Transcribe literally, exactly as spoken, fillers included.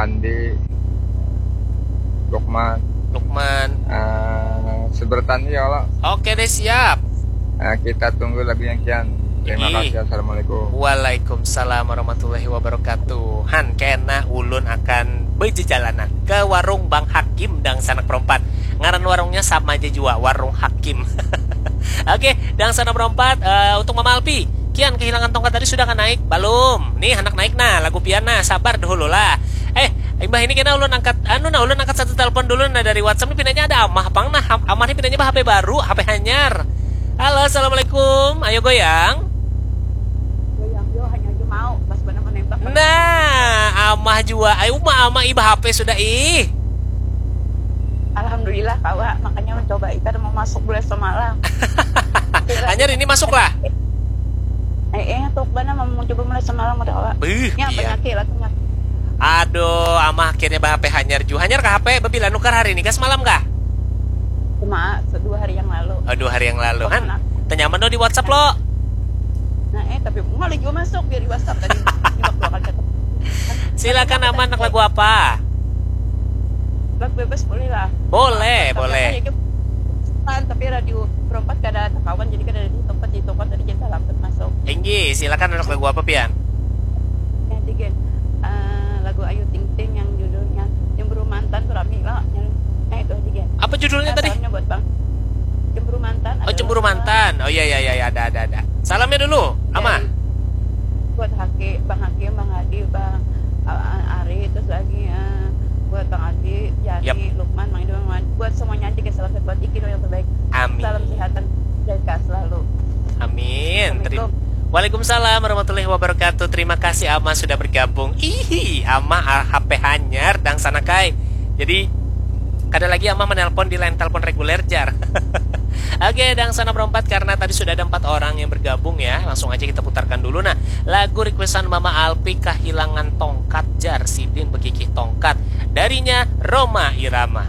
Andi, Lukman, Lukman. Uh, sebertan ya Allah. Oke deh, siap. Uh, kita tunggu lagu yang kian. Terima kasih. Assalamualaikum. Waalaikumsalam warahmatullahi wabarakatuh. Han, kena ulun akan berjejalanan ke warung Bang Hakim dangsanak perempat. Ngaran warungnya sama aja jua, warung Hakim. Oke, dangsanak perempat, uh, untuk Mama Alpi. Kian kehilangan tongkat tadi sudah kan naik? Belum. Nih, anak naik nah, lagu pian nah, sabar dahulu lah. Eh, imbah ini kena ulun angkat, anu nah, ulun angkat satu telepon dulu nah dari WhatsApp nih, pinanya ada amah pang nah, amah nih pinanya bah H P baru, H P hanyar. Halo, assalamualaikum, ayo goyang. Goyang yo, hanya aja mau, pas benar menembak. Nah, amah jua, ayo mah amah iba H P sudah ih. Alhamdulillah kawa, makanya mencoba ikan mau masuk bulan semalam. Hanyar ini masuk lah. Eh, eh, tuh bana mau coba mulai semalam udah kawa. Beuh, ya, iya. Penyakit lah, penyakit. Aduh, amah akhirnya bah H P hanyar ju. Hanyar kah H P? Bebila nukar hari ini kah semalam kah? Cuma dua hari yang lalu. Oh, dua hari yang lalu. Han, tenyaman dong di WhatsApp lo. Nah, eh, tapi mulai juga masuk biar di WhatsApp tadi. Silakan aman, nak lagu apa? Lagu bebas boleh lah. Boleh, boleh. Kan, tapi radio perempat kada takawan, jadi kada di tempat, di tempat tadi jadi lambat masuk. Inggih, silakan, anak lagu apa pian? Yang tiga, eh, lagu Ayu Ting Ting yang judulnya Cemburu Mantan tuh rame lah. Nah, itu tiga. Apa judulnya tadi? Salamnya buat Bang. Cemburu Mantan. Oh, Cemburu Mantan. Oh iya, iya, iya, ada, ada, ada. Salamnya dulu, Ama. Buat Haki, Bang Hakim, Bang Hadi, Bang, uh, Ari, terus lagi, uh, buat Bang Adi, Yani, yep. Lukman, Mang Ido, Mang Wan. Buat semuanya aja, guys, salam sehat buat Iki yang terbaik. Amin. Salam sehat dan jaga selalu. Amin. Assalamualaikum. Waalaikumsalam warahmatullahi wabarakatuh. Terima kasih Ama sudah bergabung. Ihi, Ama H P hanyar dangsanak ai. Jadi kada lagi Ama menelpon di line telepon reguler jar. Oke, dangsanak perempat, karena tadi sudah ada empat orang yang bergabung ya, langsung aja kita putarkan dulu. Nah, lagu requestan Mama Alpi, Kahilangan Tongkat jar, sidin begigih tongkat. Darinya Rhoma Irama.